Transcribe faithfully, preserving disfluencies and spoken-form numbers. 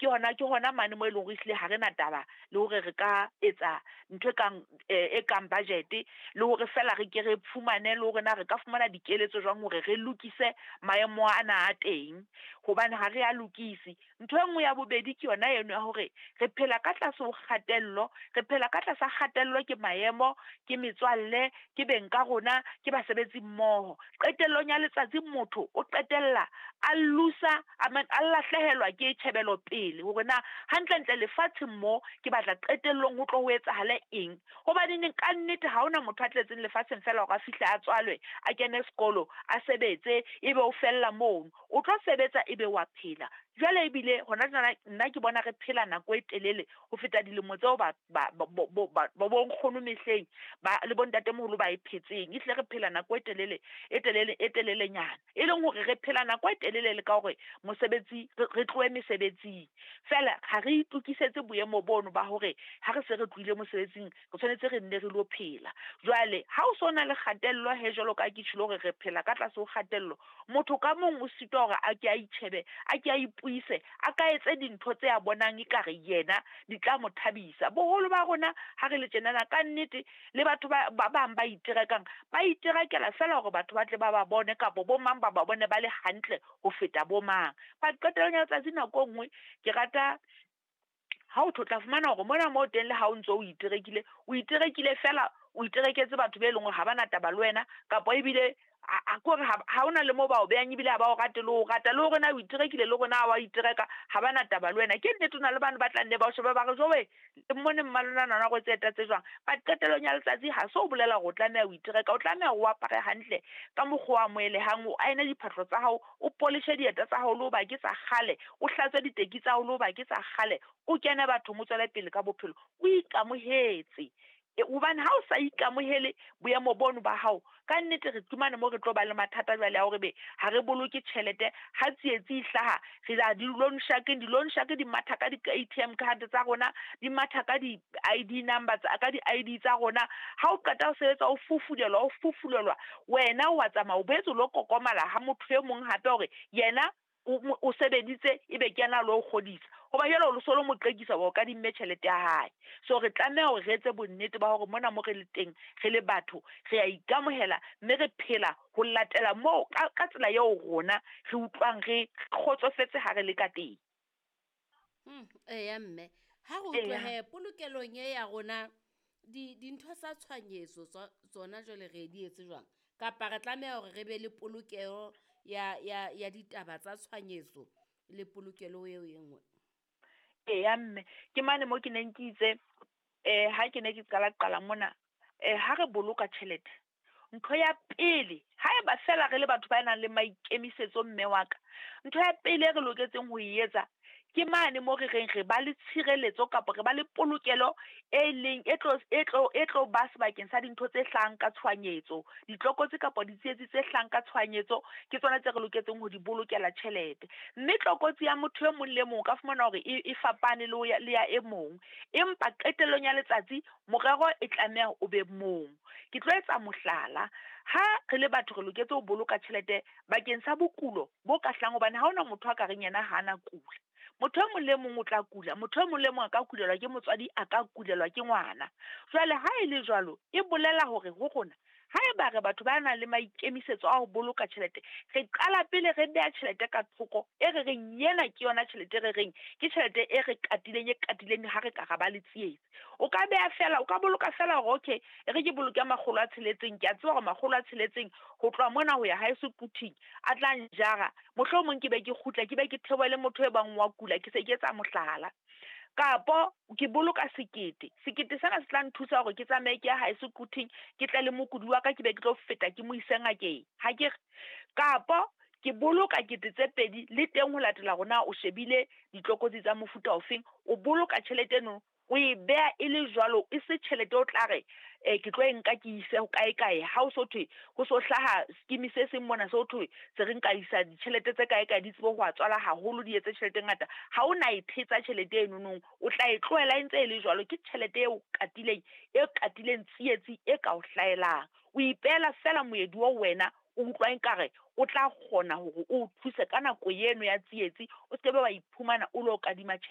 Ke hona ke hona mane mo e leng hore ehlile ha re na taba le hore re ka etsa ntho e kang e kang budget, le hore feela re ke re fumane le hore na re ka fumana dikeletso jwang hore re lokise maemo ana a teng, hobane ha re a lokise. Ntho e nngwe ya bobedi ke yona eno ya hore re phela ka tlase ho kgatello, re phela ka tlasa kgatello ke maemo, ke metswalle, ke beng ka rona, ke basebetsi mmoho. Qetellong ya letsatsi motho o qetella a loose-a a a lahlehelwa ke tjhebelopele hore na hantlentle lefatsheng mo ke batla qetellong ho tlo ho etsahale eng. Hobaneneng ka nnete ha hona motho a tletseng lefatsheng feela hore a fihle a tswalwe, a kene sekolo, a sebetse ebe o fella mono. O tlo sebetsa ebe wa phela. Jwale ebile hona jwana nna ke bona re phela nako e telele ho feta dilemo tseo ba ba bo bo bo bonkgono mehleng ba le bontatemoholo ba e phetseng. Ehlile re phela nako e telele e telele e telelenyana, e leng hore re phela nako e telele le ka hore mosebetsi re tlohe mesebetsing. Feela ha re itokisetse boemo bono ba hore ha re se re tlohile mosebetsing, re tshwanetse re nne re lo phela. Jwale ha o so na le kgatello he jwalo ka ha ke tjholo hore re phela ka tlase ho kgatello, motho ka mong o sitwa hore a ke a itjhebe, a ke a ipuise, a ka etse dintho tse a bonang ekare yena di tla mo thabisa. Boholo ba rona ha re le tjenana ka nnete le batho ba ba bang ba iterekang, ba iterekela feela hore batho ba tle ba ba bone kapa bo mang ba ba bone ba le hantle ho feta bo mang. But qetellong ya letsatsi nako e nngwe ke rata ha o tla fumana hore mona moo teng le ha o ntso o iterekile, o iterekile feela o itereketse batho be leng hore ha ba na taba le wena, kapa ebile a kore ha hona le moo ba o behang ebile ha ba o rate le ho rata, le hore na o iterekile le hore na wa itereka ha ba na taba le wena. Ke nnete ho na le bane ba tla nne ba o shebe ba re jowe mmone mmalona ngwana o rwetse eta tse jwang. But qetellong ya letsatsi ha se o bolela hore o tlameha ho itereka, o tlameha o apare hantle ka mokgwa o amohelehang, o aene diphahlo tsa hao, o polishe dieta tsa hao le hoba ke tsa kgale, o hlatswe diteki tsa hao le hoba ke tsa kgale, o kene bathong o tswele pele ka bophelo, o ikamohetse. Hobane ha o sa ikamohele boemo bono ba hao, ka nnete re fumane mo re tlo ba le mathata jwale a hore be ha re boloke tjhelete, ha tsietsi e hlaha re ya di-loan shark-eng, di-loan shark di matha ka di-A T M card tsa rona, di matha ka di-I D number tsa, ka di-I D tsa rona. Ha o qeta ho sebetsa o fufulelwa, o fufulelwa, wena wa tsamaya o boetse o lo kokomala ha motho e mong hape hore yena o, o sebeditse ebe ke yena a lo kgodisa. Hoba jwale o so lo mo qekisa hore o kadimme tjhelete ya hae. So re tlameha hore re etse bonnete ba hore mona mo re le teng re le batho re a ikamohela mme re phela ho latela moo ka, ka tsela eo rona re utlwang re kgotsofetse ha re le ka teng. Hmm, eya mme, ha re utlwe he polokelong e ya rona di dintho tsa tshohanyetso tsona jwale re di etse jwang? Kapa re tlameha hore re be le polokeho ya ya ya ditaba tsa tshohanyetso le polokelo eo e nngwe? Eya mme, ke mane mo ke neng ke itse eh ha ke ne ke qala qala mona, eh ha re boloka tjhelete, ntho ya pele haeba feela re le batho ba nang le maikemisetso mme wa ka, ntho ya pele e re loketseng ho e etsa ke mane mo re reng re ba le tshireletso kapa re ba le polokelo e leng e tlo e tlo e tlo ba sebakeng sa dintho tse hlahang ka tshohanyetso, ditlokotsi kapa ditsietsi tse hlahang ka tshohanyetso ke tsona tse re loketseng ho di bolokela tjhelete. Mme tlokotsi ya motho e mong le mong o ka fumana hore e, e fapane le ya, le ya e mong, empa qetellong ya letsatsi morero e tlameha o be mong. Ke tlo etsa mohlala, ha re le batho re loketse ho boloka tjhelete bakeng sa bokulo bo ka hlahang, hobane ha hona motho a ka reng yena ha ana kula. Motho e mong le mong o tla kula, motho e mong le mong a ka kulelwa ke motswadi, a ka kulelwa ke ngwana. Jwale ha e le jwalo, e bolela hore ho rona haeba re batho ba nang le maikemisetso a ho boloka tjhelete, re qala pele re beha tjhelete ka thoko e re reng ena ke yona tjhelete e re reng ke tjhelete e re katileng, e katileng ha re ka ra ba le tsietsi. O ka beha feela, o ka boloka feela hore okay, e re ke boloke makgolo a tsheletseng, ke a tseba hore makgolo a tsheletseng ho tloha mona ho ya haeso Quthing a tla njara, mohlomong ke be ke kgutla, ke be ke theohele motho e bang wa kula, ke se ke etsa mohlala. Kapo ke boloka sekete, sekete sena se tla nthusa hore ke tsamaye ke ya haeso Quthing, ke tle le mokudi wa ka, ke be ke tlo feta ke mo ise ngakeng, ha ke re. Kapo ke boloka kete tse pedi le teng ho latela hore na o shebile ditlokotsi tsa mofuta ofeng, o boloka tjhelete eno o e beha e le jwalo, e se tjhelete o tla re eh ke tlo e nka ke ise ho kae kae, ha o so thwe ho so hlaha scheme se seng mona se ho thwe se re nka isa ditjhelete tse kae kae di tsebe ho a tswala haholo, di etse tjhelete e ngata. Ha o na e thetsa tjhelete eno nong, o tla e tlohela e ntse e le jwalo. Ke tjhelete eo katileng, e katileng tsietsi e ka o hlahelang. O ipeela feela moedi oo wena o utlwa ekare o tla kgona hore o thuse ka nako eno ya tsietsi, o se ke be wa iphumana o lo kadima tjhelete.